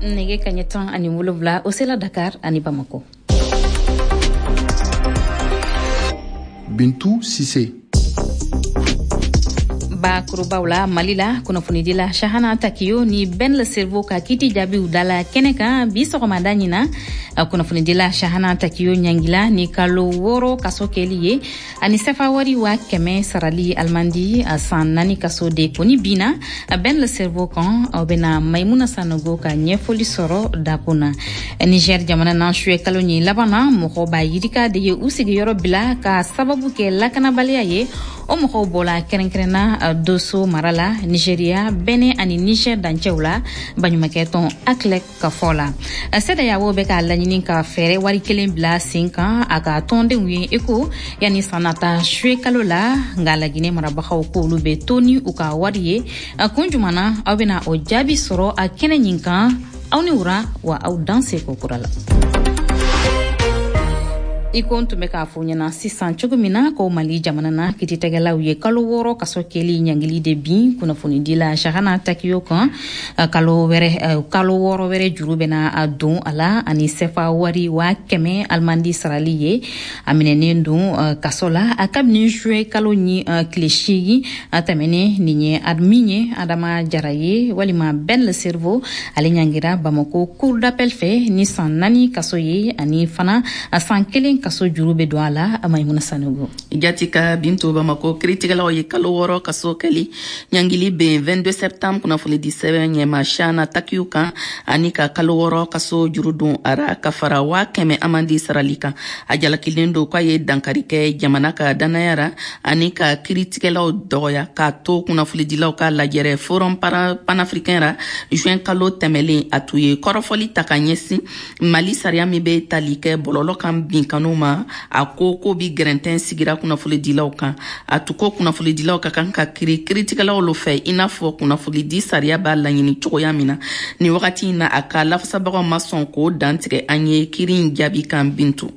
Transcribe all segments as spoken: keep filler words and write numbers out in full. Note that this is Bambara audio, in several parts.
Nɛgɛ kaɲɛ tan ani wolonwula o sela Dakar ani Bamako. Bintu Sise. Bakurubaw la, Mali la, kunnafonidila Chahana Takiyo ni Ben Le Cerveau ka kiti jaabiw dala kɛnɛ kan bi sɔgɔmada ɲina. Kunnafonidila Chahana Takiyo ɲangila ni kalo wɔɔrɔ kaso kɛli ye ani sefa wari waa kɛmɛ sarali alimandi, san naani kaso de kɔni binna Ben Le Cerveau kan. Aw bɛna Maimuna Sanogo ka ɲɛfɔli sɔrɔ dakun na. Niger jamana na, suye kalo ɲin laban na, mɔgɔ ba yirika de ye u sigiyɔrɔ bila ka sababu kɛ lakanabaliya ye. O mɔgɔw bɔla kɛrɛnkɛrɛnna Doso mara la, Nigeria, Benin ani Niger dancɛw la. Baɲumankɛ tɔn ACLED ka fɔ la, CEDEAO bɛ k'a laɲini ka fɛɛrɛ wari kelen bila sen kan a ka tɔndenw ye i ko yanni san nata suye kalo la. Nka Laginɛ marabagaw k'olu bɛ to ni u ka wari ye. Kun juman na, aw bɛna o jaabi sɔrɔ a kɛnɛ ɲin kan. Aw ni wura wa, aw dan se ko kura la. I ko n tun bɛ k'a fɔ ɲɛna sisan cogo min na ko Mali jamana na, kiiritigɛlaw ye kalo wɔɔrɔ kaso kɛli ɲangili de bin kunnafonidila Chahana Takiyo kan. Kalo wɛrɛ, kalo wɔɔrɔ wɛrɛ juru bɛna don a la ani sefa wari waa kɛmɛ alimandi sarali ye. A minɛnen don kaso la a kabini juin kalo ni tile seegin tɛmɛnen. Nin ye min ye Adama Jara ye walima Ben Le Cerveau, ale ɲangira Bamako cour d'appel fɛ ni san naani kaso ye ani fana san kelen kaso juru bɛ don a la. Maimuna Sanogo. Jati ka Bintu, Bamako kiritigɛlaw ye kalo wɔɔrɔ kaso kɛli ɲangili ben vingt-deux septembre kunnafoni di sɛbɛn ɲɛma Chahana Takiyu kan ani ka kalo wɔɔrɔ kaso juru don a ra ka fara waa kɛmɛ amandi sarali kan. A jalakilen don k'a ye dankari kɛ jamana ka danaya ra ani ka kiritigɛlaw dɔgɔya k'a to kunnafonidilaw ka lajɛrɛ Forum panafricain ra juin kalo tɛmɛlen. A tun ye kɔrɔfɔli ta ka ɲɛsin Mali sariya min bɛ tali kɛ bɔlɔlɔ kan binkanu ma. A ko ko bi gɛrɛntɛn sigira kunnafonidilaw kan. A tun ko kunnafonidilaw ka kan ka kiri kiritigɛlaw lo fɛ i n'a fɔ kunnafonidi sariya b'a laɲini cogoya min na. Nin wagati in na, a ka lafasabagaw ma sɔn k'o dantigɛ an ye kiri in jaabi kan, Bintu.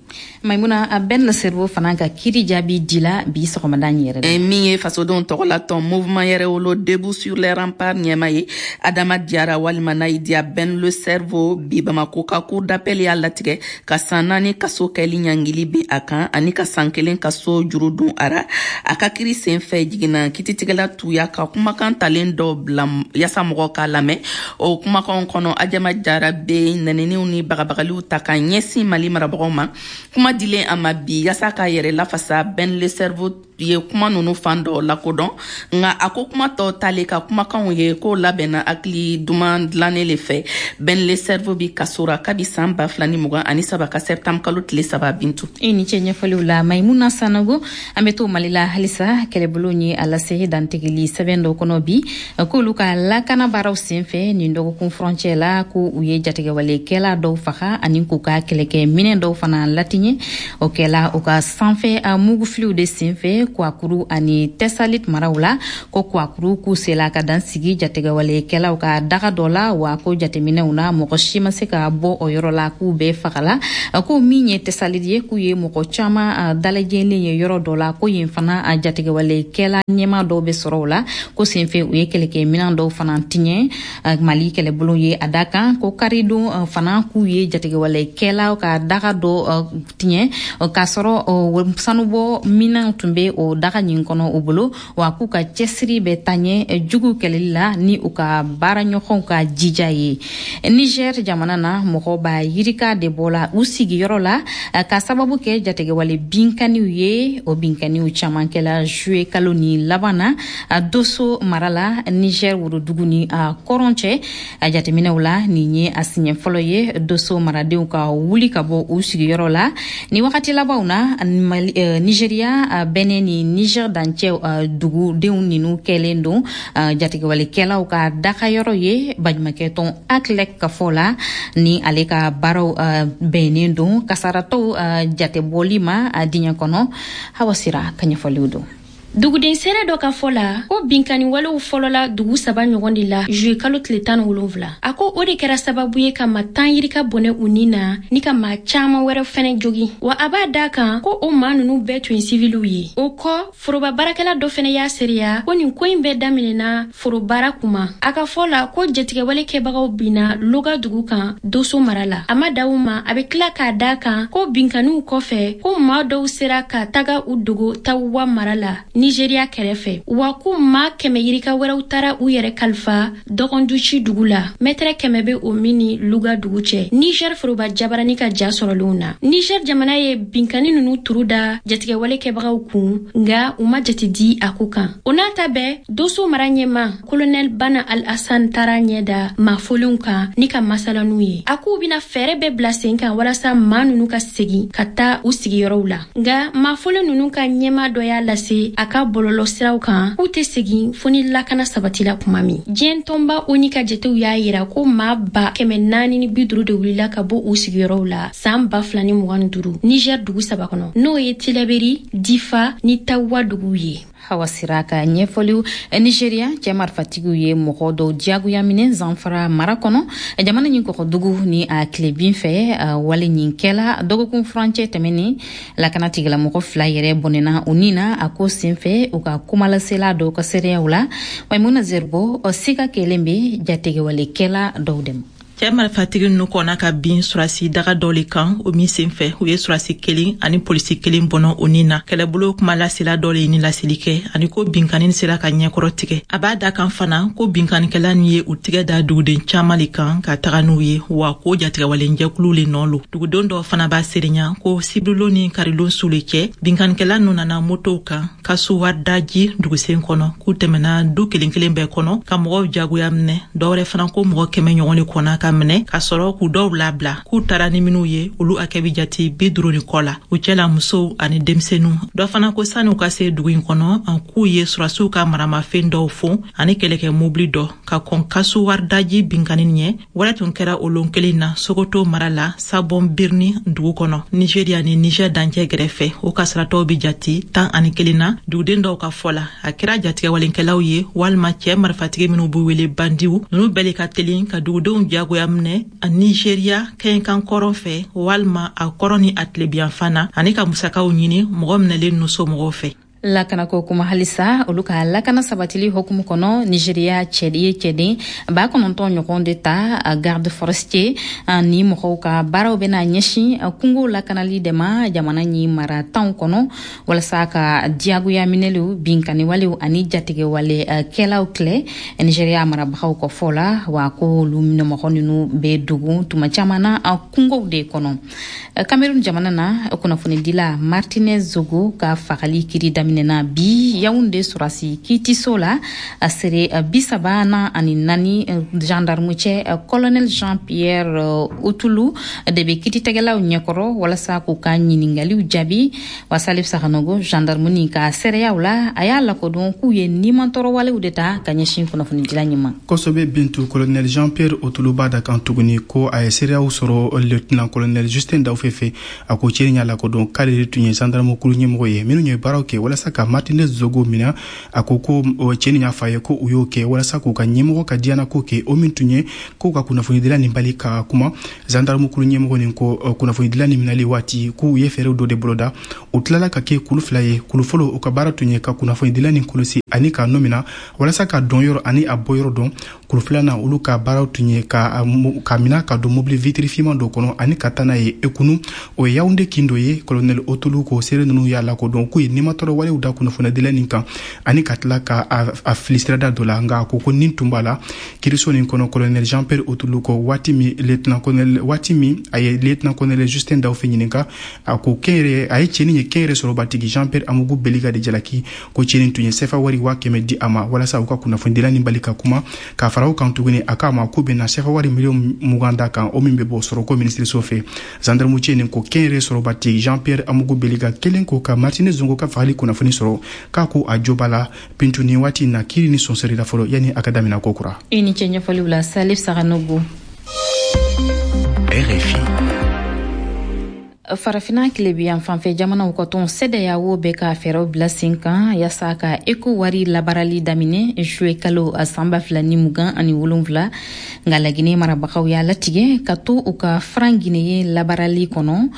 Maimuna, Ben Le Cerveau fana ka kiri jaabi dila bi sɔgɔmada in yɛrɛ la. Min ye fasodenw tɔgɔla tɔn Mouvement Yɛrɛwolo Debout sur les Remparts ɲɛma ye, Adama Diyara walima n'a y'i diya Ben Le Cerveau, bi Bamako ka cour d'appel y'a latigɛ ka san naani kaso kɛli ɲangili bin a kan ani ka san kelen kaso juru dun a ra. A ka kiri sen fɛ, jiginna kititigɛla tuya ka kumakan talen dɔ bila yaasa mɔgɔw k'a lamɛn. O kumakanw kɔnɔ, Adama Jara bɛ nɛniniw ni bagabagaliw ta ka ɲɛsin Mali marabagaw ma. Kuma dilen a ma bi yaasa k'a yɛrɛ lafasa, Ben Le Cerveau ye kuma nunu fan dɔ lakodɔn, nka a ko kuma tɔ tale ka kumakanw ye k'o labɛnna hakili duman dilannen le fɛ. Ben Le Cerveau bi kaso ra kabi san ba fila ni mugan ani saba ka septembre kalo tile saba, Bintu. I ni ce ɲɛfɔliw la, Maimuna Sanogo. An bɛ to Mali la halisa. Kɛlɛbolo ye a lase dantigɛli sɛbɛn dɔ kɔnɔ bi k'olu ka lakana baaraw sen fɛ nin dɔgɔkun furancɛ la, ko u ye jatigɛwalekɛla dɔw faga ani k'u ka kɛlɛkɛ minɛn dɔw fana latiɲɛ. O kɛla u ka sanfɛ mugufiliw de sen fɛ Kwakuru ani Tɛsalit maraw la. Ko Kwakuru, k'u sela ka dan sigi jatigɛwalekɛlaw ka daga dɔ la, wa ko jateminɛw na, mɔgɔ si ma se ka bɔ o yɔrɔ la k'u bɛɛ fagala. Ko min ye Tɛsalit ye, k'u ye mɔgɔ caman dalajɛlen ye yɔrɔ dɔ la, ko yen fana jatigɛwalekɛla ɲɛma dɔw bɛ sɔrɔ o la, ko senfɛ u ye kɛlɛkɛminɛn dɔw fana tiɲɛ. Mali kɛlɛbolo ye a da kan ko karidon fana, k'u ye jatigɛwalekɛlaw ka daga dɔ tiɲɛ k'a sɔrɔ sanubɔ minɛnw tun bɛ o daga ɲin kɔnɔ u bolo, wa k'u ka cɛsiri bɛ taa ɲɛ jugu kɛlɛli la ni u ka baaraɲɔgɔnw ka jija ye. Niger jamana na, mɔgɔ ba yirika de bɔla u sigiyɔrɔ la ka sababu kɛ jatigɛwale binkaniw ye. O binkaniw caman kɛla juillet kalo ni laban na Doso mara la, Niger worodugu ni a kɔrɔn cɛ. A jateminɛw la, nin ye a siɲɛ fɔlɔ ye Doso maradenw ka wuli ka bɔ u sigiyɔrɔ la ni wagati labanw na. Nigeria, Benin ni Niger dancɛ dugudenw ninnu kɛlen don jatigɛwalekɛlaw ka dagayɔrɔ ye. Baɲumankɛ tɔn ACLED ka fɔ la, ni ale ka baaraw bɛnnen don kasaratɔw jatebɔli ma diɲɛ kɔnɔ. Hawa Sira ka ɲɛfɔliw don. Duguden seere dɔ ka fɔ la ko binkanni walew fɔlɔla dugu saba ɲɔgɔn de la juillet kalo tile tan ni wolonwula. A ko o de kɛra sababu ye ka maa tan yirika bɔnɛ u ni na ni ka maa caman wɛrɛ fɛnɛ jogin. Wa a b'a da kan ko o maa nunu bɛɛ tun ye siviliw ye. O kɔ, foroba baarakɛla dɔ fɛnɛ y'a seereya ko nin ko in bɛɛ daminɛna forobaara kuma. A ka fɔ la ko jatigɛwale kɛbagaw binna Loga dugu kan Doso mara la. A ma da o ma, a bɛ tila k'a da kan ko binkanniw kɔfɛ ko maa dɔw sera ka taga u dogo Tawa mara la Nigeria kɛrɛfɛ. Wa ko maa kɛmɛ yirika wɛrɛw taara u yɛrɛ kalifa Dɔgɔnduci dugu la, mɛtɛrɛ kɛmɛ bɛ o min ni Luga dugu cɛ. Niger foroba jabarani ka ja sɔrɔlenw na, Niger jamana ye binkanni nunu turu da jatigɛwale kɛbagaw kun, nka u ma jate di a ko kan. O n'a ta bɛɛ, Doso mara ɲɛma Colonel Bana Al-Hassan taara ɲɛ da maa folenw kan ni ka masala n'u ye. A k'u bɛna fɛɛrɛ bɛɛ bila sen kan walasa maa nunu ka segin ka taa u sigiyɔrɔw la. Nka maa folen nunu ka ɲɛma dɔ y'a lase a ka bɔlɔlɔ siraw kan k'u tɛ segin fo ni lakana sabatila kuma min. Diɲɛ tɔnba ONU ka jatew y'a yira ko maa ba kɛmɛ naani ni bi duuru de wulila ka bɔ u sigiyɔrɔw la san ba fila ni mugan ni duuru Niger dugu saba kɔnɔ, n'o ye Tilaberi, Difa ni Tawa duguw ye. Hawa Sira ka ɲɛfɔliw. Nigeria cɛ marifatigiw ye mɔgɔ dɔw diyagoya minɛ Zamfara mara kɔnɔ, jamana ɲin kɔgɔdugu ni a tilebin fɛ. Wale ɲin kɛla dɔgɔkun furancɛ tɛmɛnen, lakana tigilamɔgɔ fila yɛrɛ bɔnɛna u ni na a ko senfɛ, u ka kumalasela dɔw ka seereyaw la. Maimuna Zerbo, siga kelen bɛ jatigɛwalekɛla dɔw dɛmɛ. Cɛ marifatigi ninnu kɔnna ka bin surasi daga dɔ le kan, o min senfɛ u ye surasi kelen ani polisi kelen bɔnɔ o ni na. Kɛlɛbolo kuma lasela dɔ le ye ni laseli kɛ ani ko binkanni sera ka ɲɛkɔrɔ tigɛ. A b'a da kan fana ko binkannikɛla nin ye u tigɛ da duguden caman le kan ka taga n'u ye, wa ko jatigɛwalenjɛkulu le nɔ lo. Dugudenw dɔw fana b'a seerenya ko sibirilon ni karilon su le cɛ, binkannikɛla ninnu nana motow kan ka suwadaji dugusen kɔnɔ, k'u tɛmɛna du kelen kelen bɛɛ kɔnɔ ka mɔgɔw jagoya minɛ. Dɔwɛrɛ fana ko mɔgɔ kɛmɛ ɲɔgɔn le kɔnna ka minɛ ka sɔrɔ k'u dɔw labila, k'u taara ni minnu ye olu hakɛ bɛ jate bi duuru ni kɔ la, u cɛla musow ani denmisɛnninw. Dɔ fana ko sani u ka se dugu in kɔnɔ, an k'u ye surasiw ka maramafɛn dɔw fon ani kɛlɛkɛ mobili dɔ ka kɔn kasu waridaji binkanni ɲɛ. Wɛrɛ tun kɛra o lon kelen na Sokoto mara la, Sabon Birni dugu kɔnɔ, Nigeria ni Niger dancɛ gɛrɛfɛ. O kasaratɔw bɛ jate tan ani kelen na. Duguden dɔw ka fɔ la, a kɛra jatigɛwalenkɛlaw ye walima cɛ marifatigi minnu b'u wele bandiw ninnu bɛɛ le ka teli ka dugudenw jagoya minɛ a Nigeria kɛɲɛkan kɔrɔn fɛ walima a kɔrɔn ni a tilebiyanfan na, ani ka musakaw ɲini mɔgɔ minɛlen ninnu somɔgɔw fɛ. Lakanako kuma halisa, olu ka lakana sabatili hukumu kɔnɔ, Nigeria cɛden ye cɛden ba kɔnɔntɔn ɲɔgɔn de ta garde forestier ni mɔgɔw ka baaraw bɛna ɲɛsin kungo lakanali de ma jamana ɲi mara tanw kɔnɔ, walasa ka diyagoya minɛliw, binkanniwalew ani jatigɛwale kɛlaw kɛlɛ Nigeria marabagaw kɔ fɔ la. Wa ko olu mɔgɔ ninnu bɛ dogo tuma caman na kungow de kɔnɔ. Cameroun jamana na, kunnafonidila Martinez Zogo ka fagali kiri daminɛ na bi Yaoundé surasi kiitiso la. A sere bi saba na ani naani gendarme cɛ colonel Jean Pierre Otulu de bɛ kiititigɛlaw ɲɛkɔrɔ walasa k'u ka ɲininkaliw jaabi. Wa Salif Sakanogo, gendarme nin ka seereyaw la, a y'a lakodɔn k'u ye nimantɔɔrɔwalew de ta ka ɲɛsin kunnafonidila ɲɛ ma. Kosɛbɛ Bintu, colonel Jean Pierre Otulu b'a da kan tuguni ko a ye seereyaw sɔrɔ lieutenant colonel Justin Dawfe fɛ. A ko cɛ y'a lakodɔn k'ale de tun ye gendarme kulu ɲɛmɔgɔ ye minnu ye baaraw kɛ walasa ka Martinez Zogo minɛ. A ko ko cɛ nin y'a fɔ a ye ko u y'o kɛ walasa k'u ka ɲɛmɔgɔ ka diyanako kɛ, o min tun ye k'u ka kunnafonidila nin bali ka kuma. Gendarme kulu ɲɛmɔgɔ nin ko kunnafonidila nin minɛli waati k'u ye fɛɛrɛw dɔ de boloda. U tilala ka kɛ kulu fila ye. Kulu fɔlɔ, u ka baara tun ye ka kunnafonidila nin kɔlɔsi ani k'a nɔ minɛ walasa ka dɔn yɔrɔ ani a bɔ yɔrɔ dɔn. Kulu filanan, olu ka baaraw tun ye ka ka minɛ ka don mobili vitiri finman dɔ kɔnɔ ani ka taa n'a ye Ekunu, o ye Yaoundé kin dɔ ye. Colonel Otulu ko seere ninnu y'a lakodɔn k'u ye nimatɔrɔ walew da kunnafonidila nin kan ani ka tila ka a fili sirada dɔ la, nka a ko ko nin tun b'a la. Kiiriso nin kɔnɔ, colonel Jean Pierre Otulu ko waati min lieutenant colonel waati min a ye lieutenant colonel Justin Dawfe ɲininka, a ko kɛnyɛrɛ a ye cɛnin ye kɛnyɛrɛ sɔrɔbatigi Jean Pierre Amougou Beliga de jalaki ko cɛnin tun ye sefa wari waa kɛmɛ di a ma walasa u ka kunnafonidila nin bali ka kuma. Ka fara o kan tuguni, a k'a ma k'u bɛna sefa wari miliyɔn mugan da kan, o min bɛ bɔ sɔrɔko minisiriso fɛ. Gendarme cɛ nin ko kɛnyɛrɛ sɔrɔbatigi Jean Pierre Amougou Beliga kelen ko ka Martinez Zongo ka fagali kunnafoni sɔrɔ, k'a ko a jo b'a la. Bintu, ni waati na kiiri ni sonsori la fɔlɔ yanni a ka daminɛ ko kura. I ni cɛ ɲɛfɔliw la, Salif Sakanogo. R F I. Farafina tilebiyan fanfɛ jamanaw ka tɔn CEDEAO bɛ ka fɛɛrɛw bila sen kan yaasa ka eko wari labaarali daminɛ juillet kalo san ba fila ni mugan ani wolonfila. Nka Laginɛ marabagaw y'a latigɛ ka to u ka franc guinéen labaarali kɔnɔ.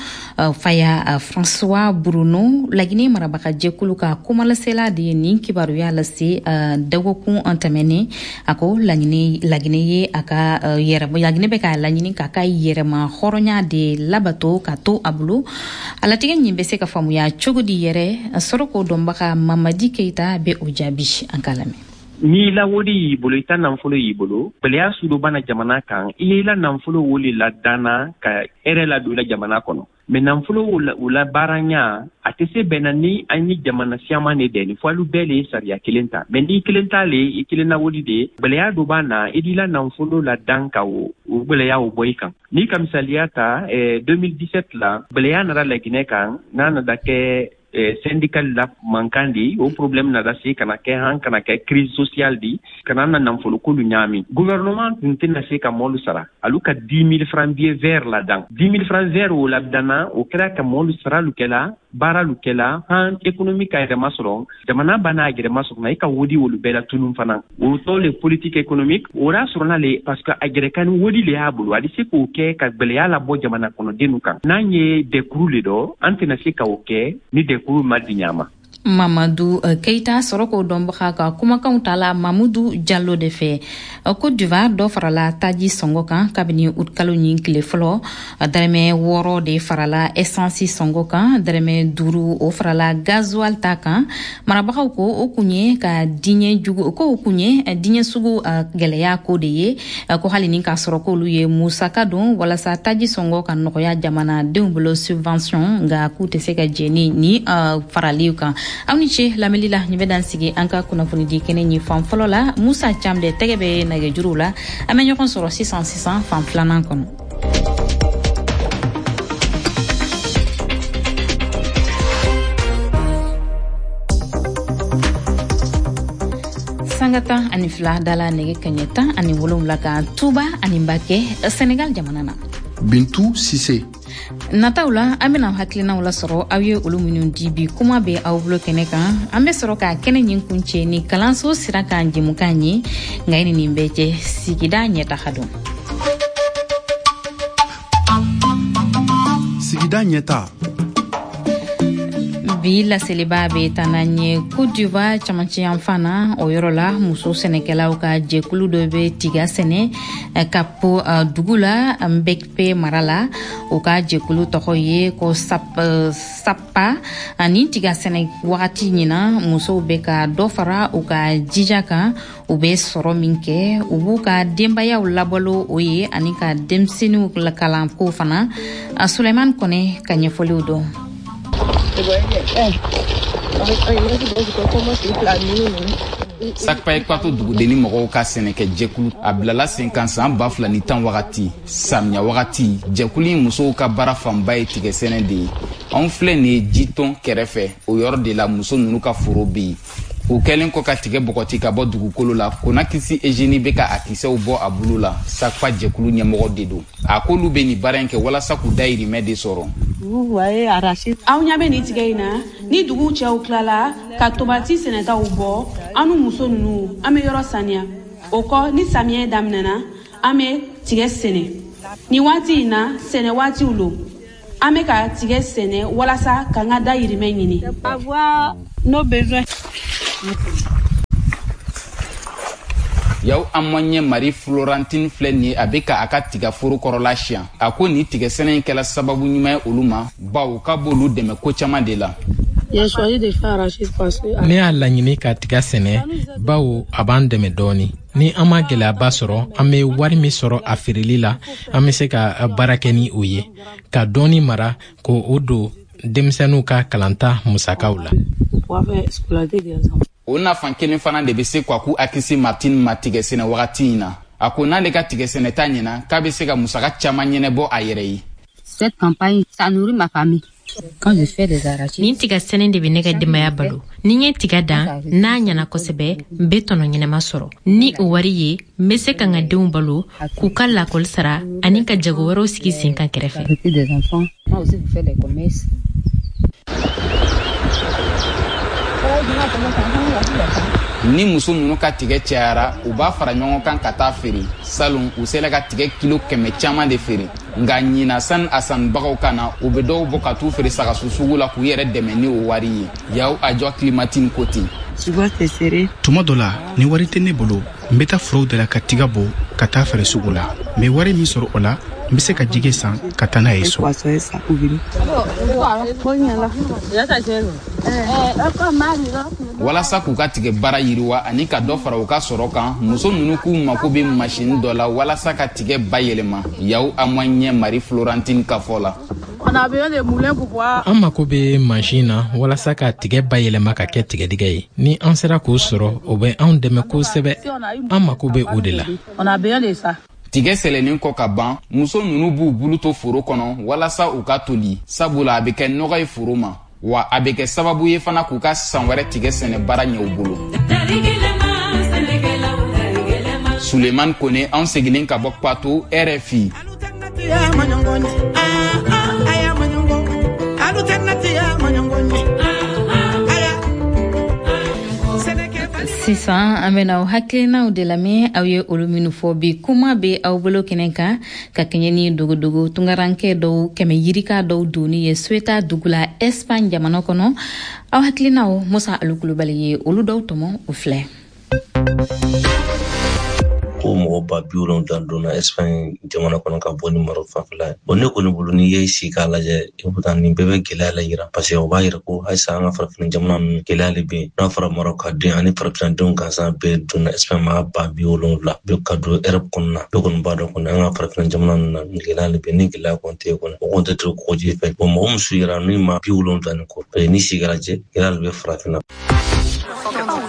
Faya François Bruno, Laginɛ marabaga jɛkulu ka kumalasela de ye nin kibaruya lase dɔgɔkun tɛmɛnen. A ko Laginɛ Laginɛ ye a ka yɛrɛ Laginɛ bɛ k'a laɲini k'a ka yɛrɛma hɔrɔnya de labato ka to a bolo. A latigɛ ɲin bɛ se ka faamuya cogo di yɛrɛ? Sɔrɔ ko dɔnbaga Mamadi Keita bɛ o jaabi, an k'a lamɛn. N'i la wodi y'i bolo, i ta nafolo y'i bolo, gwɛlɛya sudo bana jamana kan, i ye la nafolo wo le ladanna ka hɛrɛ ladon i la jamana kɔnɔ. Mais nafolo o la baaranya a tɛ se bɛnna ni an ye jamana siyaman de dɛni fo alu bɛɛ le ye sariya kelen ta. Mais n'i kelen ta le, i kelen na wodi de, gwɛlɛya dɔ b'a na, i d'i la nafolo ladan ka o o gwɛlɛya o bɔ i kan. N'i ka misaliya ta, eh, deux mille dix-sept la, gwɛlɛya nana Laginɛ kan n'a nana kɛ eh, syndical la mankan di. O problème nana se kana kɛ han kana kɛ crise sociale di, kana na nafolo kolu ɲaami. Gouvernement tun tɛna se ka mɔlu sara. Alu ka dix mille francs billet vert la dan, dix mille francs vert o la danna, o kɛra ka mɔlu sara lu kɛla, baara lu kɛla, han économie ka yɛrɛma sɔrɔ, jamana banna a yɛrɛma sɔrɔ na, i ka wodi wolu bɛɛ la tunun fana. O tɔ le politique économique o y'a sɔrɔ le parce que a yɛrɛ ni wodi le y'a bolo, a bɛ se k'o kɛ ka gwɛlɛya labɔ jamana kɔnɔdenw kan. N'an ye dɛkuru le dɔ, an tɛna se ka o kɛ ni dɛkuru ma di ɲa ma. Mamadu Keita, sɔrɔ k'o dɔnbaga ka kumakanw ta la Mamudu Jalo de fɛ. Côte d'Ivoire, dɔ farala taji sɔngɔ kan kabini utikalo ɲin tile fɔlɔ. Dɛrɛmɛ wɔɔrɔ de farala essence sɔngɔ kan, dɛrɛmɛ duuru o farala gasoil ta kan. Marabagaw ko o kun ye ka diɲɛ jugu ko o kun ye diɲɛ sugu gɛlɛya ko de ye, ko hali ni k'a sɔrɔ k'olu ye musaka don walasa taji sɔngɔ ka nɔgɔya jamanadenw bolo, subvention, nka k'u tɛ se ka jɛ ni ni farali kan. Aw ni ce lamɛnli la. Nin bɛ dan sigi an ka kunnafonidi kɛnɛ ɲi fan fɔlɔ la. Musa Cam de tɛgɛ bɛ nɛgɛjuruw la. An bɛ ɲɔgɔn sɔrɔ sisan sisan fan filanan kɔnɔ. Sanga tan ani fila dala nɛgɛ kaɲɛ tan ani wolonwula kan Tuba ani Mbakɛ, Senegal jamana na. Bintu Sise. Nataw la, an bena hakilinaw lasɔrɔ aw ye olu minnu di bi kuma bɛ aw bolo kɛnɛ kan. An bɛ sɔrɔ ka kɛnɛ ɲin kun cɛ ni kalanso sira kan jɛmukan ye. Nka i ni nin bɛɛ cɛ, sigida ɲɛtaga don. Sigida ɲɛta. Bi laseliba bɛ taa n'an ye Côte d'Ivoire camancɛ yanfan na. O yɔrɔ la, muso sɛnɛkɛlaw ka jɛkulu dɔ bɛ tiga sɛnɛ Kapo dugu la, Mbekpe mara la. O ka jɛkulu tɔgɔ ye ko Sap, Sapa. Ani tiga sɛnɛ wagati ɲina, musow bɛ ka dɔ fara u ka jija kan. U bɛ sɔrɔ min kɛ, u b'u ka denbayaw labalo o ye ani ka denmisɛnninw kalanko fana. Suleiman Kɔnɛ ka ɲɛfɔliw dɔn. Sakpa Ekwato dugudenni mɔgɔw ka sɛnɛkɛ jɛkulu a bilala sen kan san ba fila ni tan wagati, samiya wagati. Jɛkulu in musow ka baara fanba ye tigɛ sɛnɛ de ye. Anw filɛ nin ye jitɔn kɛrɛfɛ, o yɔrɔ de la muso ninnu ka foro bɛ yen. O kɛlen kɔ ka tigɛ bɔgɔti ka bɔ dugukolo la, Konakisi Egeni bɛ ka a kisɛw bɔ a bolo la. Sakpa jɛkulu ɲɛmɔgɔ de don. A k'olu bɛ nin baara in kɛ walasa k'u dayirimɛ de sɔrɔ. Aw ɲɛ bɛ nin tigɛ in na, ni dugu cɛw tilala ka tomati sɛnɛtaw bɔ, an ni muso ninnu, an bɛ yɔrɔ saniya. O kɔ, ni samiyɛ daminɛna, an bɛ tigɛ sɛnɛ. Nin waati in na, sɛnɛ waatiw lo, an bɛ ka tigɛ sɛnɛ walasa k'an ka dayirimɛ ɲini. Yaw Amɔɲɛ Marie Florentine filɛ nin ye, a bɛ ka a ka tigaforo kɔrɔla siyan. A ko nin tigɛsɛnɛ in kɛla sababu ɲuman ye olu ma, bawo k'a b'olu dɛmɛ ko caman de la. Ne y'a laɲini ka tiga sɛnɛ bawo a b'an dɛmɛ dɔɔni. Ni an ma gwɛlɛyaba sɔrɔ, an be wari min sɔrɔ a feereli la, an be se ka baara kɛ ni o ye ka dɔɔni mara k'o o don denmisɛnninw ka kalanta musakaw la. O nafan kelen fana de bɛ se Kwaku Akisi Martin ma tigɛsɛnɛ wagati in na. A ko n'ale ka tigɛsɛnɛta ɲɛna, k'a bɛ se ka musaka caman ɲɛnɛbɔ a yɛrɛ ye. Cette campagne, ça nourrit ma famille. Nin tiga sɛnɛ de bɛ ne ka denbaya balo. Ni n ye tiga dan, n'a ɲana kosɛbɛ, n be tɔnɔ ɲɛnama sɔrɔ. Ni o wari ye, n be se ka n ka denw balo, k'u ka lakɔli sara ani ka jago wɛrɛw sigi sen kan kɛrɛfɛ. Ni muso ninnu ka tigɛ cayara, u b'a fara ɲɔgɔn kan ka taa feere. Salon u sela ka tigɛ kilo kɛmɛ caman de feere, nka ɲina sani a sannibagaw ka na, u bɛ dɔw bɔ ka t'u feere sagasu sugu la k'u yɛrɛ dɛmɛ ni o wari ye. Yaw a jɔ Clémentine ko ten. Tuma dɔ la, ni wari tɛ ne bolo, n bɛ taa forow de la ka tiga bɔ ka taa feere sugu la. N bɛ wari min sɔrɔ o la, n bɛ se ka jɛgɛ san ka taa n'a ye so. Walasa k'u ka tigɛ baara yiriwa ani ka dɔ fara u ka sɔrɔ kan, muso ninnu k'u mako bɛ masini dɔ la walasa ka tigɛ bayɛlɛma. Yaw Amoɲɛ Marie Florentine ka fɔ la. An mako bɛ mansin na walasa ka tigɛ bayɛlɛma ka kɛ tigɛdɛgɛ ye. Ni an sera k'o sɔrɔ, o bɛ anw dɛmɛ kosɛbɛ. An mako bɛ o de la. Tigɛ sɛlɛnnen kɔ ka ban, muso ninnu b'u bulu to foro kɔnɔ walasa u ka toli, sabula a bɛ kɛ nɔgɔ ye foro ma, wa a bɛ kɛ sababu ye fana k'u ka san wɛrɛ tigɛ sɛnɛ baara ɲɛ u bolo. Suleiman Kone, anw seginnen ka bɔ Kwato, R F I. Sisan an bɛna aw hakilinaw de lamɛn, aw ye olu minnu fɔ bi. Kuma bɛ aw bolo kɛnɛ kan ka kɛɲɛ ni dogodogo tungarankɛ dɔw kɛmɛ yirika dɔw donni ye Ceuta dugu la Espagne jamana kɔnɔ. Aw hakilinaw, Musa Alu Kulubali ye olu dɔw tɔmɔ, o filɛ. Ko mɔgɔ ba bi wolonwula donna Espagne jamana kɔnɔ ka bɔ ni Maroc fanfɛla ye. Bon, ne kɔni bolo, n'i ye sigi k'a lajɛ, i bɛ taa nin bɛɛ bɛ gɛlɛya la yira, parce que o b'a yira ko halisa an ka farafin jamana ninnu gɛlɛya de bɛ yen. N'a fɔra Maroc ka den ani farafindenw gansan bɛɛ donna Espagne maa ba bi wolonwula bɛɛ ka don Europe kɔnɔna, bɛɛ kɔni b'a dɔn kɔni an ka farafin jamana ninnu na gɛlɛya de bɛ yen. Ni gɛlɛya kɔni tɛ yen kɔni, o kɔni tɛ to kɔgɔji fɛ. Bon, mɔgɔ min su yira ni maa bi wolonwula ni kɔ, parce que n'i sigi k'a lajɛ, gɛlɛya de bɛ farafinna.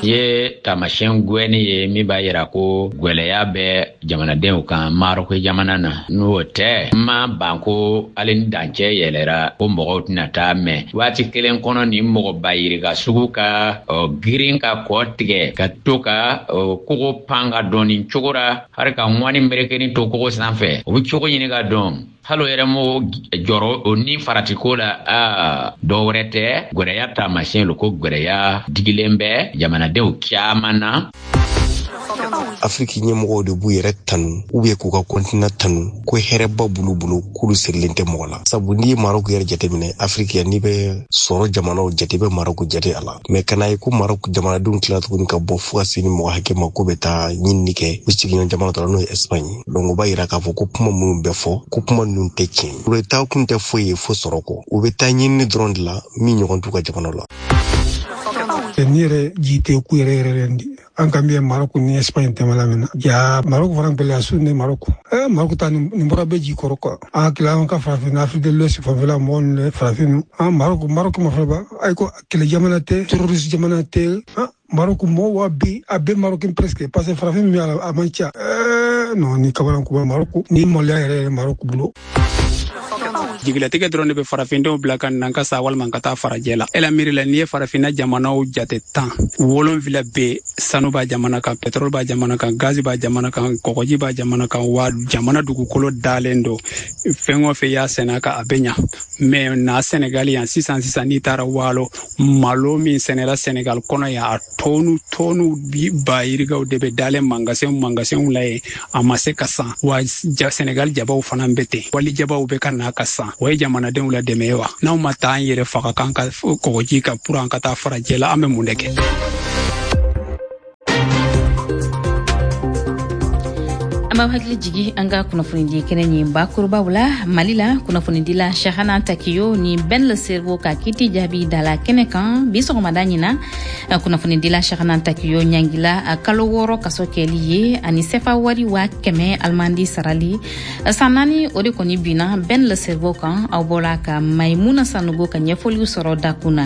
Ye taamasiyɛn gwɛni ye min b'a yira ko gwɛlɛya bɛ jamanadenw kan Marɔku jamana na. N'o tɛ, n ma ban ko hali ni dancɛ yɛlɛra ko mɔgɔw tɛna taa mɛn waati kelen kɔnɔ ni mɔgɔ ba yirika sugu ka ɔ, girin ka kɔ tigɛ ka to ka ɔ, kogo pan ka dɔn nin cogo ra, hali ka ŋɔni merekeni to kogo sanfɛ, o bɛ cogo ɲini ka dɔn. Hali o yɛrɛ m'o jɔrɔ o ni faratiko la, aa dɔ wɛrɛ tɛ, gwɛrɛya taamasiyɛn lo ko gwɛrɛya digilen bɛ jamanadenw caman na. Afiriki ɲɛmɔgɔw de b'u yɛrɛ tanu ou bien k'u ka kɔntina tanu ko hɛrɛba b'olu bolo k'olu sirilen tɛ mɔgɔ la. Sabu n'i ye Marɔku yɛrɛ jateminɛ, Afiriki yan n'i bɛ sɔrɔ jamanaw jate, i bɛ Marɔku jate a la. Mɛ kana ye ko Marɔku jamanadenw tila tuguni ka bɔ fo ka se ni mɔgɔ hakɛ ma k'u bɛ taa ɲinini kɛ u sigiɲɔgɔn jamana dɔ la, n'o ye Espagne. Donc o b'a yira k'a fɔ ko kuma minnu bɛ fɔ, ko kuma ninnu tɛ tiɲɛ ye. U bɛ taa kun tɛ foyi ye fo sɔrɔ kɔ. U bɛ taa ɲinini dɔrɔn de la min ɲɔgɔn t'u ka jamana la. Ni yɛrɛ ji tɛ ku yɛrɛ yɛrɛ yɛrɛ di an kan bɛ Marɔku ni Espagne tɛmɛla min na, ja Marɔku fana gɛlɛya su ni Marɔku eh Marɔku ta nin bɔra bɛ ji kɔrɔ quoi. An hakili an ka farafin Afrique de l'Ouest fanfɛla mɔgɔ ninnu farafin an Marɔku Marɔku ma fana ba ayi ko kɛlɛ jamana tɛ, terroriste jamana tɛ. Marɔku mɔgɔw wa bi a bɛɛ Marɔku presque, parce que farafin min b'a la a man ca. Eh non, ni kabalan kuba Marɔku ni maloya yɛrɛ yɛrɛ Marɔku bolo. Jigilatigɛ dɔrɔn de bɛ farafindenw bila ka na ka sa walima ka taa farajɛ la. E la miiri la, n'i ye farafinna jamanaw jate tan, wolonfila bɛ sanu b'a jamana kan, pétrole b'a jamana kan, gazi b'a jamana kan, kɔgɔji b'a jamana kan, wa jamana dugukolo dalen don. Fɛn o fɛn y'a sɛnɛ a kan, a bɛ ɲa. Mais na Senegal yan sisan sisan, n'i taara waalo, malo min sɛnɛla Senegal kɔnɔ yan, a tɔnu tɔnu bi ba yirikaw de bɛ dalen mangasɛnw mangasɛnw la yen, a ma se ka san. Wa Senegal jabaw fana bɛ ten, wali jabaw bɛ ka na ka san. O ye jamanadenw la dɛmɛ ye wa? N'anw ma taa an yɛrɛ faga k'an ka kɔgɔji kan pour an ka taa farajɛ la, an bɛ mun de kɛ? An b'aw hakili jigi an ka kunnafonidi kɛnɛ nin bakurubaw la. Mali la, kunnafonidila Chahana Takiyo ni Ben Le Cerveau ka kiti jaabi dala kɛnɛ kan bi sɔgɔmada ɲina. Kunnafonidila Chahana Takiyo ɲangila kalo wɔɔrɔ kaso kɛli ye ani sefa wari waa kɛmɛ alimandi sarali. San naani o de kɔni binna Ben Le Cerveau kan. Aw bɔla ka Maimuna Sanogo ka ɲɛfɔliw sɔrɔ dakun na.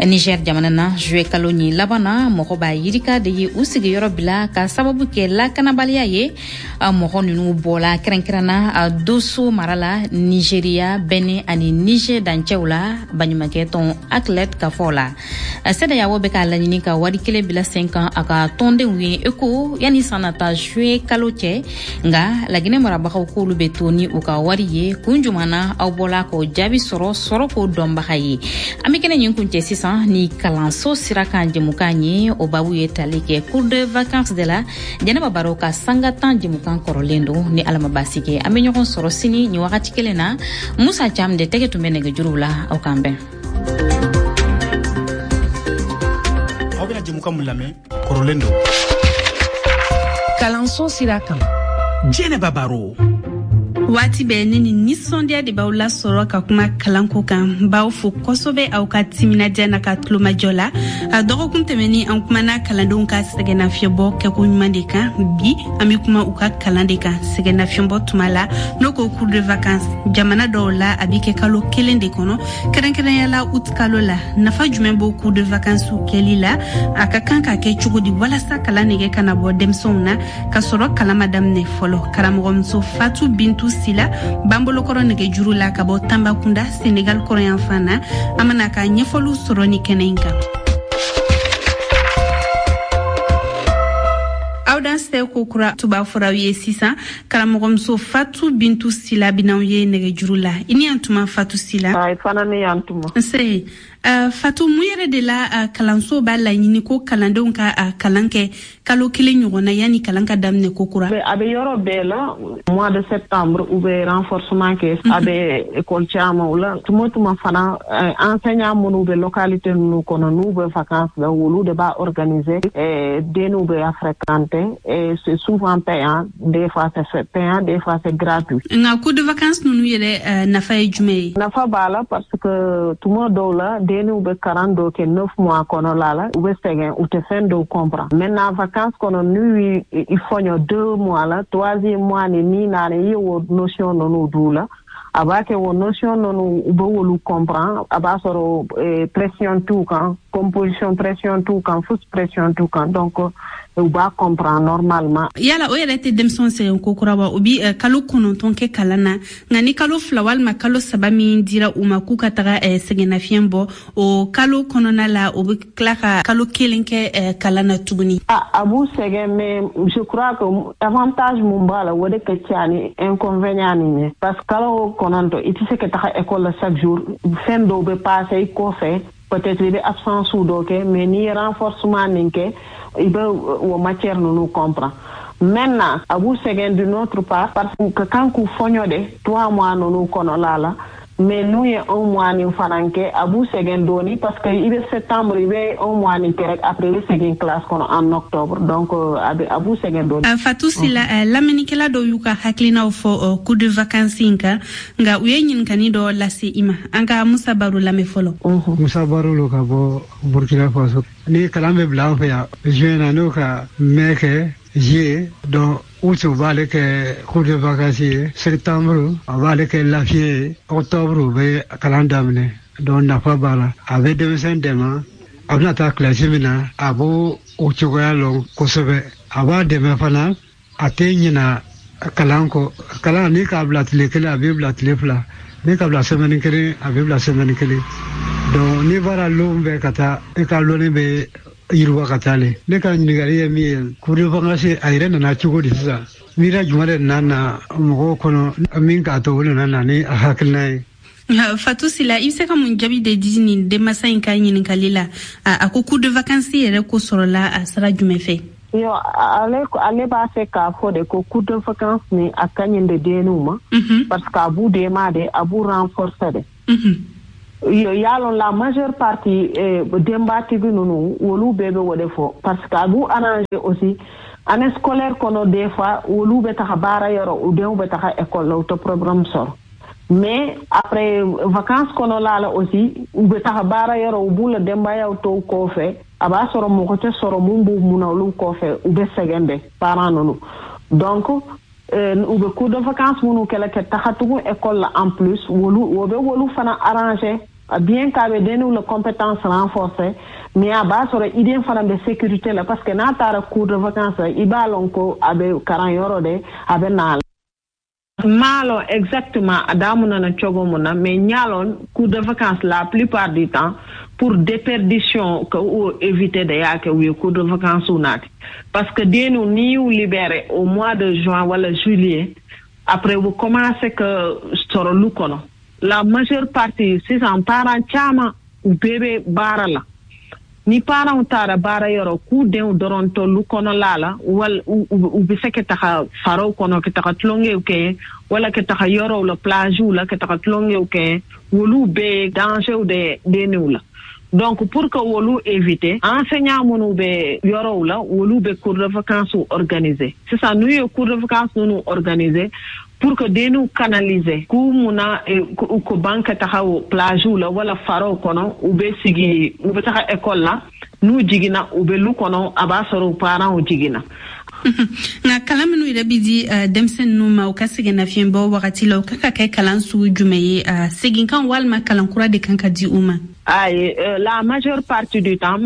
Niger jamana na, juillet kalo nin laban na, mɔgɔ ba yirika de ye u sigiyɔrɔ bila ka sababu kɛ lakanabaliya ye. Mɔgɔ ninnu bɔla kɛrɛnkɛrɛnna Doso mara la, Nigeria, Benin ani Niger dancɛw la, baɲumankɛ tɔn ACLED ka fɔ la. CEDEAO bɛ k'a laɲini ka wari kelen bila sen kan a ka tɔndenw ye eko yanni san nata juillet kalo cɛ. Nka Laginɛ marabagaw k'olu bɛ to ni u ka wari ye. Kun juman na aw bɔla k'o jaabi sɔrɔ sɔrɔ k'o dɔnbaga ye. An bɛ kɛnɛ ɲin kuncɛ sisan ni kalanso sira kan jɛmukan ye. O babu ye tali kɛ cours de vacances de la. Jɛnɛba Baro ka sanga tan jɛmukan kɔrɔlen don. Ni Ala ma baasi kɛ, an bɛ ɲɔgɔn sɔrɔ sini nin wagati kelen na. Musa Cam de tɛgɛ tun bɛ nɛgɛjuruw la. Aw k'an bɛn. Aw bɛna jɛmukan mun lamɛn kɔrɔlen don. Kalanso sira kan, Jɛnɛba Baro. Waati bɛɛ ne ni nisɔndiya de b'aw lasɔrɔ ka kuma kalanko kan. N b'aw fo kosɛbɛ aw ka timinadiya n'a ka tulomajɔ la. A dɔgɔkun tɛmɛni, an kumana kalandenw ka sɛgɛnnafiɲɛbɔ kɛko ɲuman de kan. Bi, an be kuma u ka kalan de kan sɛgɛnnafiɲɛbɔ tuma la, n'o ko cours de vacances. Jamana dɔw la, a bi kɛ kalo kelen de kɔnɔ, kɛrɛnkɛrɛnya la août kalo la. Nafa jumɛn b'o cours de vacances kɛli la? A ka kan ka kɛ cogo di walasa kalan nege kana bɔ denmisɛnw na ka sɔrɔ kalan ma daminɛ fɔlɔ? Karamɔgɔmuso Fatu Bintu Sila b'an bolokɔrɔ nɛgɛjuru la ka bɔ Tanbakunda, Senegal kɔrɔyanfan na. An bena ka ɲɛfɔliw sɔrɔ ni kɛnɛ in kan. Aw dansɛ ko kura tuba fɔraw ye sisan. Karamɔgɔmuso Fatu Bintu Sila bɛn'aw ye nɛgɛjuru la. I ni yan tuma, Fatu Sila. Ayi, fana ne yan tuma. Nse. Uh, Fatu, mun yɛrɛ de la uh, kalanso b'a laɲini ko kalandenw ka uh, kalan kɛ kalo kelen ɲɔgɔn na yanni kalan ka daminɛ ko kura? A bɛ yɔrɔ bɛɛ la, mois de septembre u bɛ renforcement kɛ. A bɛ école caman la. Tuma tuma fana, enseignant minnu bɛ localité ninnu kɔnɔ, n'u bɛ vacances la, olu de b'a organiser. Denw bɛ fréquenter et c'est souvent payant, des fois c'est payant, des fois c'est gratuit. Nka cours de vacances ninnu yɛrɛ nafa ye jumɛn ye? Nafa b'a la parce que tuma dɔw la, denw bɛ kalan dɔw kɛ neuf mois kɔnɔla la, u bɛ sɛgɛn, u tɛ fɛn dɔw comprendre. Maintenant, vacances kɔnɔ, n'u i fɔɲɔ deux mois la, troisième mois ni ni naani, i ye o notion ninnu d'u la, a b'a kɛ o notion ninnu u bɛ olu comprendre. A b'a sɔrɔ pression t'u kan, composition pression t'u kan, fosi pression t'u kan, donc u b'a comprendre normalement. Yala o yɛrɛ tɛ denmisɛnw sɛgɛn ko kura wa? U bi kalo kɔnɔntɔn kɛ kalan na, nka ni kalo fila walima kalo saba min dira u ma k'u ka taga sɛgɛnnafiɲɛ bɔ, o kalo kɔnɔna la, o bɛ tila ka kalo kelen kɛ kalan na tuguni. A b'u sɛgɛn, mais je crois que avantage mun b'a la, o de ka ca ni inconvénient nin ye, parce que kalo kɔnɔntɔn, i tɛ se ka taga école la chaque jour, fɛn dɔw bɛ passer i kɔfɛ, peut-être i bɛ absence dɔw kɛ, mais n'i ye renforcement nin kɛ, i bɛ o matière ninnu comprend. Maintenant, a b'u sɛgɛn d'une autre part parce que ka kan k'u fɔɲɔ de trois mois ninnu kɔnɔla la, mais n'u ye un mois nin fana kɛ, a b'u sɛgɛn dɔɔni parce que i bɛ septembre, i bɛ un mois nin kɛ rek, après i bɛ segin classe kɔnɔ en octobre, donc a bɛ a b'u sɛgɛn dɔɔni. Fatou Sila, lamɛnnikɛla dɔw y'u ka hakilinaw fɔ cours de vacances in kan, nka u ye ɲininkali dɔ lase i ma. An ka Musa Baro lamɛn fɔlɔ. Musa Baro lo ka bɔ Burkina Faso. Ni kalan bɛ bila an fɛ yan juin na, n'o ka mai kɛ juillet, donc août u b'ale kɛ cours de vacances ye, septembre a b'ale kɛ lafiya ye, octobre u bɛ kalan daminɛ. Donc nafa b'a la, a bɛ denmisɛn dɛmɛ, a bɛna taa kilasi min na, a b'o o cogoya lɔn kosɛbɛ. A b'a dɛmɛ fana, a tɛ ɲina kalan kɔ. Kalan ni k'a bila tile kelen, a b'i bila tile fila, ni k'a bila semaine kelen, a b'i bila semaine kelen. Donc n'i bɔra lon bɛɛ ka taa, i ka lɔnni bɛ yiriwa ka taa le. Ne ka ɲininkali ye min ye, cours de vacances a yɛrɛ nana cogo di sisan? Miiriya jumɛn de nana na mɔgɔw kɔnɔ min k'a to o nana na ni a hakilina ye? Fatou Sila, i bɛ se ka mun jaabi de di nin denmansa in ka ɲininkali la? A ko cours de vacances yɛrɛ ko sɔrɔla a sira jumɛn fɛ? Yo, ale ale b'a fɛ k'a fɔ de ko cours de vacances ni a ka ɲi de denniw ma, parce que a b'u dɛmɛ de, a b'u renforcer de. Yalon la majeure partie denbatigi ninnu, olu bɛɛ bɛ o de fɔ parce que a b'u arranger aussi année scolaire kɔnɔ. Des fois olu bɛ taga baara yɔrɔ, u denw bɛ taga école la, u tɛ problème sɔrɔ, mais après vacances kɔnɔla la aussi, u bɛ taga baara yɔrɔ, u b'u la denbayaw to kɔfɛ, a b'a sɔrɔ mɔgɔ tɛ sɔrɔ mun b'u mun na olu kɔfɛ, u bɛ sɛgɛn de parents ninnu. Donc u bɛ cours de vacances minnu kɛlɛ kɛ taga tugun école la en plus, wolu o bɛ wolu fana arranger, bien k'a bɛ denniw la compétence renforcer, Mais a b'a sɔrɔ i den fana bɛ sécurité la, parce que n'a taara cours de vacances la, i b'a lɔn ko a bɛ karan yɔrɔ de, a bɛ na la. M'a lɔn exactement a damunana cogo mun na, mais n y'a lɔn cours de vacances, la plupart du temps, pour déperdition ka o éviter de y'a kɛ u ye cours de vacances naati, parce que dennu n'i y'u libéré au mois de juin wala juillet, après u commencé ka sɔrɔ lu kɔnɔ. La majeure partie sisan, parents caman, u bɛɛ bɛ baara la. Ni parents taara baara yɔrɔ, k'u denw dɔrɔn to lu kɔnɔla la, wala u bɛ se ka taga faraw kɔnɔ ka taga tulonkɛw kɛ, wala ka taga yɔrɔw la, plagew la, ka taga tulonkɛw kɛ. Olu bɛɛ dangerw de denniw la. Donc pour que wolu éviter, enseignant minnu bɛ yɔrɔw la, olu bɛ cours de vacances organiser. Sisan n'u ye cours de vacances ninnu organiser pour que denniw canaliser k'u munna ko ban ka taga o plagew la wala faraw kɔnɔ, u bɛ sigi, u bɛ taga école la, n'u jiginna, u bɛ lu kɔnɔ, a b'a sɔrɔ u parents jiginna. Nka kalan minnu yɛrɛ bɛ di denmisɛn ninnu ma u ka sɛgɛnnafiɲɛbɔ wagati la, o kan ka kɛ kalan sugu jumɛn ye? Seginkan walima kalan kura de kan ka di u ma? Ayi, la majeure partie du temps,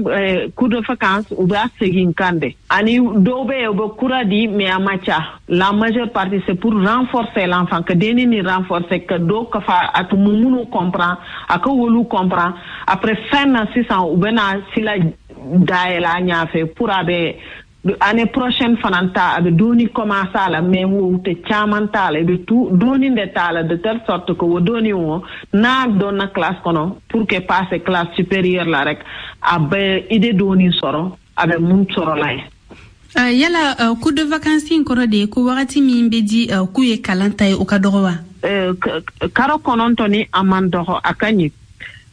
cours de vacances, u b'a segin kan de. Ani dɔw bɛ yen, u bɛ kura di, mais a ma ca. La majeure partie, c'est pour renforcer l'enfant, ka denni ni renforcer, ka dɔw ka fa a tun minnu comprend, a ka wolu comprend. Après fin na sisan, u bɛna sila dayɛlɛ a ɲɛfɛ pour a bɛ année prochaine fana ta, a bɛ dɔɔni commencer a la, mais wo tɛ caman t'a la. I bɛ tu dɔɔni de t'a la, de telle sorte que o dɔɔni o n'a donna classe kɔnɔ, pour que passer classe supérieure la rek, a bɛ idée dɔɔni sɔrɔ, a bɛ mun sɔrɔ la ye. Uh, yala uh, cours de vacances in kɔrɔ de ye ko wagati min bɛ di uh, k'u ye kalan ta ye, o ka dɔgɔ wa? Uh, karo kɔnɔntɔn ni a man dɔgɔ, a ka ɲi.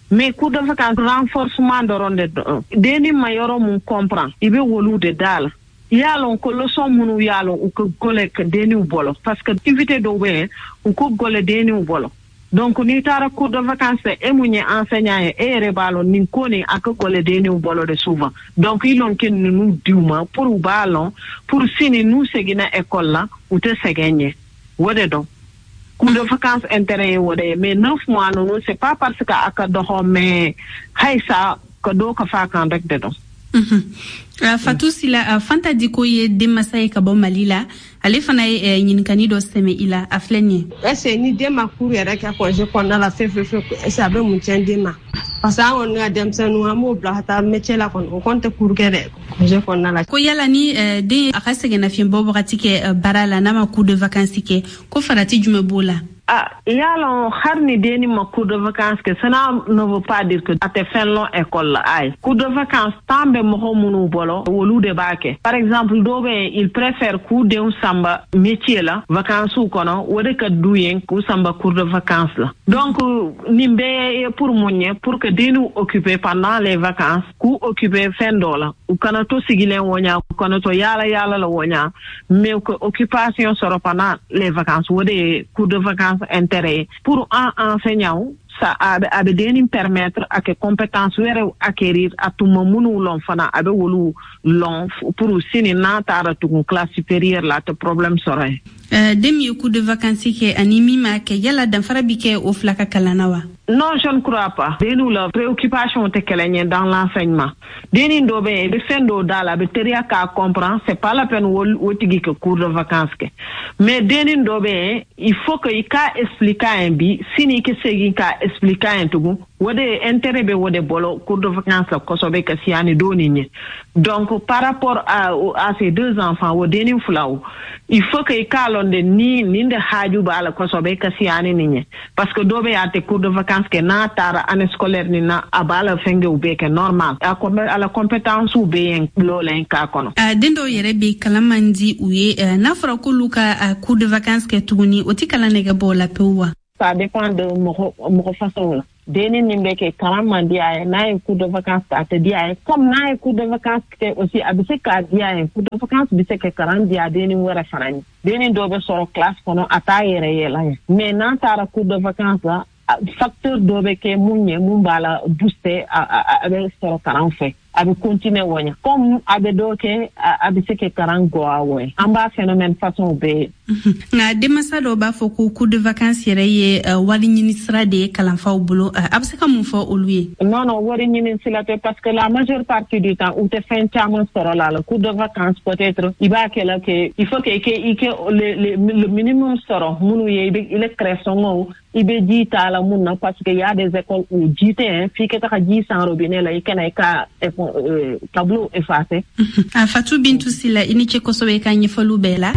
Mais cours de vacances, renforcement dɔrɔn de don. Denni ma yɔrɔ mun comprend, i bɛ wolu de da la. I y'a lɔn ko leçon minnu y'a lɔn u ka gɔlɛ denniw bolo, parce que activité dɔw bɛ yen, u ko gɔlɛ denniw bolo. Donc n'i taara cours de vacances, e mun ye enseignant ye, e yɛrɛ b'a lɔn nin ko nin a ka gɔlɛ denniw bolo de souvent. Donc i lɔn ke ninnu di u ma pour u b'a lɔn, pour sini n'u seginna école la, u tɛ sɛgɛn ɲɛ. O de dɔn cours de vacances intérêt ye o de ye. Mais neuf mois ninnu, c'est pas parce que a ka dɔgɔ, mais hayisa ka dɔ ka fa kan rek de dɔn. Mm-hmm. Uh, Fatou Sila, uh, Fanta Diko ye denmasa ye ka bɔ Mali la. Ale fana ye uh, ɲininkani dɔ sɛmɛ i la, a filɛ nin ye. Est-ce ni den ma cours yɛrɛ kɛ congé kɔnɔna la fewu fewu, est-ce a bɛ mun tiɲɛ den ma? Parce que an kɔni ka denmisɛnninw, an b'o bila ka taa métier la kɔni, o kɔni tɛ cours kɛ dɛ congé kɔnɔna la. Ko yala ni uh, den a ka sɛgɛnnafiɲɛbɔ wagati kɛ uh, baara la, n'a ma cours de vacances kɛ, ko farati jumɛn b'o la? Ah, y'a lɔn hali ni denni ma cours de vacances kɛ, cela ne veut pas dire que a tɛ fɛn lɔn école la. Ayi, cours de vacances temps bɛ mɔgɔ minnu bolo, olu de b'a kɛ. Par exemple, dɔw bɛ yen, il préfère k'u denw sanba métier la vacances kɔnɔ, o de ka d'u ye k'u sanba cours de vacances la. Donc nin bɛɛ ye pour mun ye? Pour que denniw occuper pendant les vacances, k'u occuper fɛn dɔ la, u kana to sigilen wɔɲa, u kana to yaala yaala la wɔɲa, mais u ka occupation sɔrɔ pendant les vacances. O de ye cours de vacances intérêt. Pour un enseignant, ça a bɛ denni permettre a ka compétence wɛrɛw acquérir, a tun ma minnu lɔn fana, a bɛ wolu lɔn pour sini n'a taara tugun classe supérieure la, a tɛ problème sɔrɔ yen. Den min ye cours de vacances kɛ ani min m'a kɛ, yala danfara bi kɛ o fila ka kalan na wa? Non, je ne crois pas. Denniw la préoccupation tɛ kelen ye dans l'enseignement. Denni dɔ bɛ yen, i bɛ fɛn dɔw d'a la, a bɛ teriya k'a comprend, c'est pas la peine o tigi ka cours de vacances kɛ. Mais denni dɔ bɛ yen, il faut que i k'a expliquer a ye bi, sini i ka segin k'a expliquer a ye tugun. O de intérêt bɛ o de bolo cours de vacances la kosɛbɛ ka siya ni donni ɲɛ. Donc par rapport à, à ces deux enfants, o denni filaw, il faut que i k'a lɔn de ni nin de haaju b'a la kosɛbɛ ka siya ni nin ɲɛ. Parce que dɔ bɛ yen, a tɛ cours de vacances kɛ, n'a taara année scolaire nin na, a b'a la fɛnkɛw bɛɛ kɛ normal. A a la compétence bɛ yen lɔlen k'a kɔnɔ. A den dɔw yɛrɛ bɛ kalan man di u ye, n'a fɔra k'olu ka cours de vacances kɛ tuguni, o tɛ kalan nɛgɛ bɔ o la pewu wa? Ça dépend de mɔgɔ mɔgɔ façon la. Denni nin bɛ kɛ kalan man di a ye, n'a ye cours de vacances a tɛ di a ye. Comme n'a ye cours de vacances kɛ aussi, a bɛ se k'a di a ye. Cours de vacances bɛ se ka kalan di a denni wɛrɛ fana ye. Denni dɔw bɛ sɔrɔ classe kɔnɔ, a t'a yɛrɛ yɛlɛ ye. Mais n'a taara cours de vacances la, facteur dɔ bɛ kɛ mun ye, mun b'a la booster, a bɛ sɔrɔ kalan fɛ. A bɛ continuer o ɲa comme a bɛ dɔ kɛ, a bɛ se ka karan gɔ a wɔ ye. An b'a phénomène façon bɛɛ ye. Nka denmansa dɔw b'a fɔ ko cours de vacances yɛrɛ ye wari ɲini sira de ye kalanfaw bolo. A bɛ se ka mun fɔ olu ye? Non, non, wari ɲini sira tɛ, parce que la majeure partie du temps, u tɛ fɛn caman sɔrɔ la la cours de vacances. Peut-être i b'a kɛ la que il faut que i kɛ i kɛ le le le minimum sɔrɔ minnu ye, i bɛ i le craie-sɔngɔw, i bɛ ji t'a la mun na, parce que y a des écoles où ji tɛ yen, f'i ka taga ji san robinet la, i kana i ka tableau effacer. A Fatou Bintou Sila, i ni ce kosɛbɛ i ka ɲɛfɔliw bɛɛ la.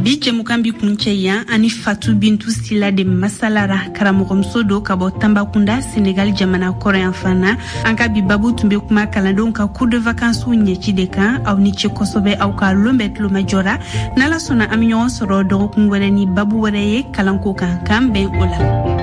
Bi jɛmukan bi kuncɛ yan. Ani Fatou Bintou Sila de masalara, karamɔgɔmuso do ka bɔ Tambakunda, Senegal jamana kɔrɔyan fan na. An ka bi babu tun bɛ kuma kalandenw ka cours de vacances ɲɛci de kan. Aw ni ce kosɛbɛ aw ka lon bɛɛ tulomajɔ ra. N'Ala sɔnna, an bɛ ɲɔgɔn sɔrɔ dɔgɔkun wɛrɛ ni babu wɛrɛ ye kalanko kan. K'an bɛn o la.